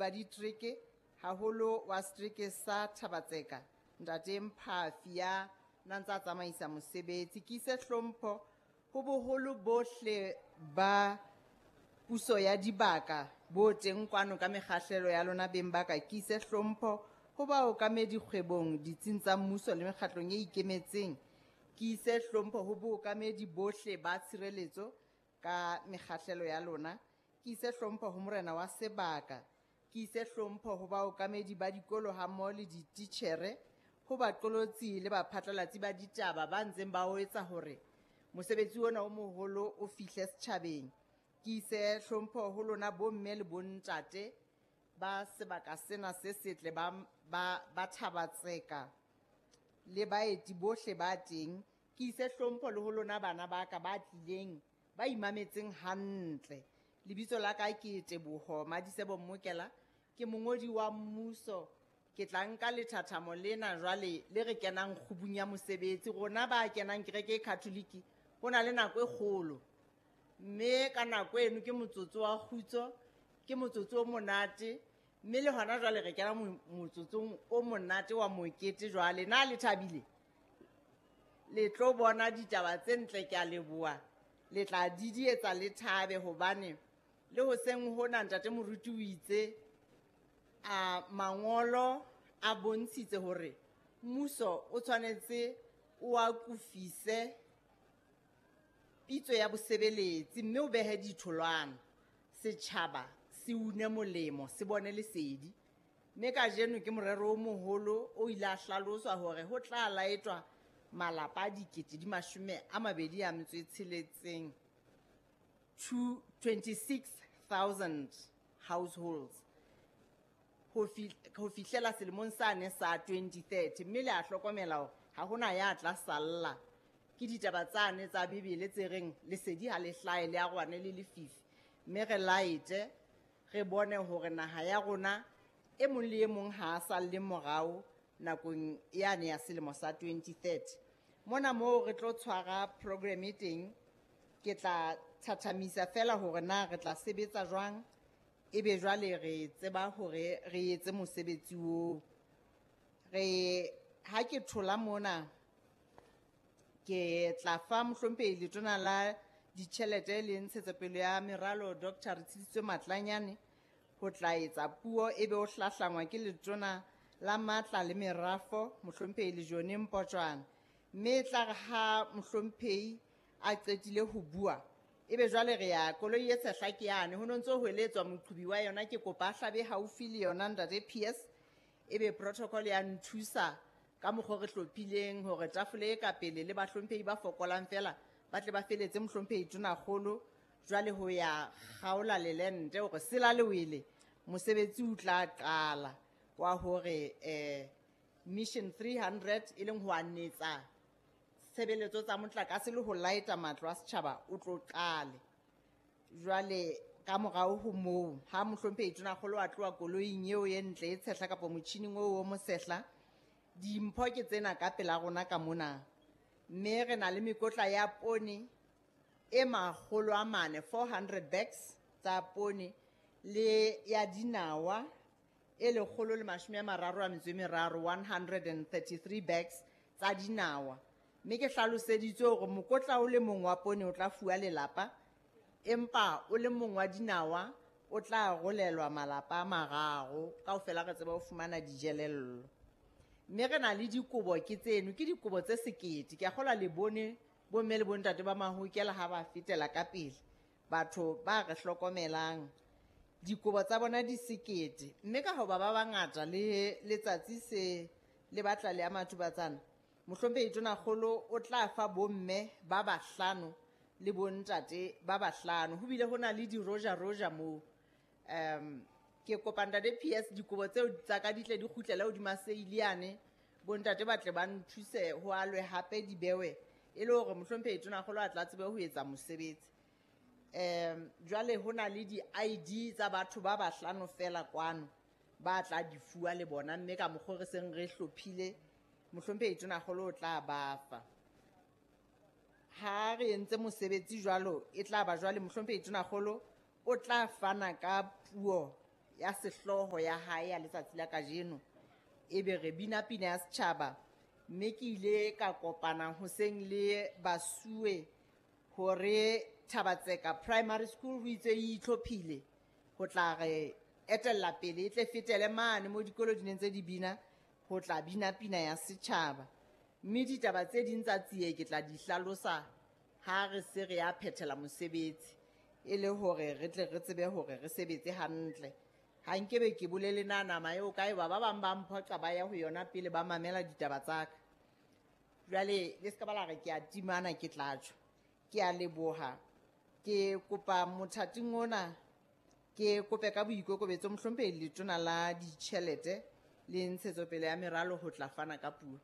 ba ditereke, haholo wa setereke sa Thabatseka, ntate Mphafi ya na ntsa tsamaisa mosebetsi. Ke ise hlompho ho boholo bohle ba puso ya dibaka bo teng kwano ka mekgahlelo ya lona beng ba ka. Ke ise hlompho ho baokamedi kgwebong, ditsing tsa mmuso le mekgatlong e ikemetseng. Ke ise hlompho ho bookamedi bohle ba tshireletso ka mekgahlelo ya lona. Ke ise hlompho ho morena wa sebaka. Ke ise hlompho ho baokamedi ba dikolo hammoho le dititjhere, ho baqolotsi le baphatlalatsi ba ditaba ba ntseng ba o etsa hore mosebetsi ona o moholo o fihle setjhabeng. Ke ise hlompho ho lona bomme le bontate ba sebaka sena se setle ba Thabatseka le baeti bohle ba teng. Ke ise hlompho le ho lona bana ba ka ba tlileng, ba imametseng hantle. Lebitso la ka ke Teboho Madisebo Mmokela, ke mongodi wa mmuso. Ke tla nka lethathamo lena jwale le re kenang kgubung ya mosebetsi. Rona ba kenang kereke e Catholic, ho na le nako e kgolo, mme ka nako eno ke motsotso wa kgutso, ke motsotso o monate, mme le hona jwale re kena motsotsong o monate wa mokete jwale. Na le thabile? Le tlo bona ditaba tse ntle, ke a leboha. Le tla didietsa le thabe, hobane le hoseng hona ntate moruti o itse a mangolo a bontshitse hore mmuso o tshwanetse o akofise pitso ya bosebeletsi, mme o behe ditholwana, setjhaba se une molemo, se bone lesedi. Mme kajeno ke morero o moholo o ile a hlaloswa hore ho tla laetwa malapa a dikete di mashome a mabedi a metso e tsheletseng, two, 26,000 households ho fihlela selemong sane sa 2030. Mme le a hlokomela hore ha hona ya tla salla. Ke ditaba tsane tsa Bibele tse reng lesedi ha le hlahe le arohane le lefifi. Mme re laete, re bone hore naha ya rona e mong le e mong ha a salle morao nakong yane ya selemo sa 2030. Mona moo re tlo tshwara program e teng, ke tla thathamisa fela hore na re tla sebetsa jwang, ebe jwale re tseba hore re etse mosebetsi oo. Re ha ke thola mona, ke tla fa mohlomphehi letona la ditjhelete le ntshetsopele ya meralo Doctor Retshiditswe Matlanyane ho tla etsa puo, ebe o hlahlangwa ke letona la matla le merafo mohlomphehi Lejone Mpotjwana. Mme e tla re ha mohlomphehi a qetile ho bua, ebe jwale re ya koloi e tshehla ke yane, ho no ntso ho eletswa moqhubi wa yona, ke kopa a hlabe haufi le yona ntate PS, ebe protocol ya nthusa ka mokgwa re hlophileng hore tafole e ka pele le bahlomphehi ba fokolang fela ba tle ba feletse mohlomphehi Tonakgolo jwale ho ya kgaola lelente hore sela le wele, mosebetsi o tla qala wa hore mission 300 e leng ho anetsa tshebeletso tsa motlakase le ho laeta matlo a setjhaba o tlo qale. Jwale ka morao ho moo, ha mohlomphehi Tonakgolo a tloha koloing eo e ntle e tshehla kapa motjhining oo o mosehla, dimpho ke tsena ka pela rona ka mona. Mme re na le mekotla ya poone e makgolo a mane, 400 bags tsa poone, le ya dinawa e lekgolo le mashome a mararo a metso e meraro, 133 bags tsa dinawa. Mme ke hlaloseditswe hore mokotla o le mong wa poone o tla fuwa lelapa, empa o le mong wa dinawa o tla arolelwa malapa a mararo, kaofela re tseba ho fumana dijelello. Mme re na le dikobo ke tseno, ke dikobo tse sekete. Ke a kgolwa le bone bomme le bontate ba Mahokela ha ba fetela ka pele, batho ba re hlokomelang. Dikobo tsa bona di sekete, mme ka hoba ba bangata le letsatsi se le batla le ya Mathubatsana, mohlomphehi Tonakgolo o tla fa bomme ba bahlano le bontate ba bahlano. Ho bile ho na le di-roja-roja moo. Ke kopa ntate PS dikobo tseo tsa ka di tle di kgutlele hodima seile yane, bontate ba tle ba nthuse ho alwe hape di bewe, e le hore mohlomphehi Tonakgolo a tla tsebe ho etsa mosebetsi. Jwale ho na le di-ID tsa batho ba bahlano fela kwano ba tla di fuwa le bona, mme ka mokgwa re seng re hlophile mohlomphehi Tonakgolo o tla ba fa. Ha re entse mosebetsi jwalo, e tla ba jwale mohlomphehi Tonakgolo o tla fana ka puo ya sehlooho ya hae ya letsatsi la kajeno. Ebe re bina pina ya setjhaba, mme ke ile ka kopana hoseng le basuwe hore Thabatseka Primary School ho itse e itlhophile ho tla re etella pele, e tle fetele mane mo dikolo di neng tse di bina ho tla bina pina ya setjhaba. Mme ditaba tse ding tsa tsie ke tla di hlalosa ha re se re ya phethela mosebetsi, e le hore re tle re tsebe hore re sebetse hantle. Ha nkebe ke bolele na nama eo kae ba ba bang ba mphoqa ba ya ho yona pele ba mamela ditaba tsa ka. Jwale le ska ba la re ke a timana, ke tla tjho. Ke a leboha. Ke kopa mothating ona, ke kope ka boikokobetso mohlomphehi Letona la Ditjhelete le Ntshetsopele ya Meralo ho tla fana ka puo.